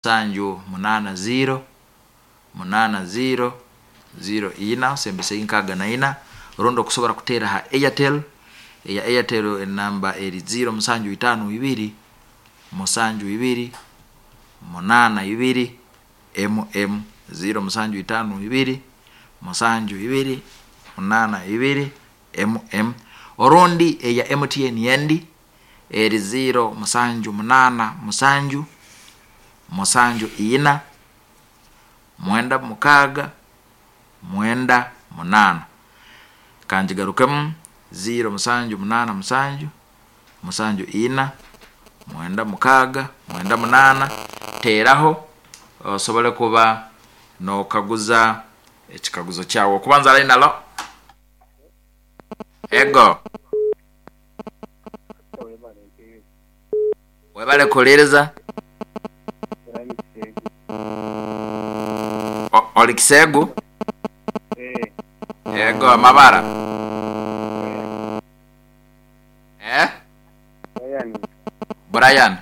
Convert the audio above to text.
Musanju munaana ziiro, munaana ziiro, ziiro ina, osembeseyo nkaaga na ina, rundi okusobora kuteera ha Airtel, eya Airtel enamba eri ziiro musanju itaano ibiri, musanju ibiri, munaana ibiri, emu emu, ziiro musanju itaano ibiri, musanju ibiri, munaana ibiri, emu emu. Orundi eya MTN endi eri ziiro musanju munaana musanju, musanju ina, mwenda mukaaga, mwenda munaana. Kangigarukemu, ziiro musanju munaana musanju, musanju ina, mwenda mukaaga, mwenda munaana. Teeraho osobole kuba nookaguza ekikaguzo kyawe. Okubanza line alo. Ego. Webale kuhuliriza. Oli Kiseegu? Ego, amabara? Eh? Brian.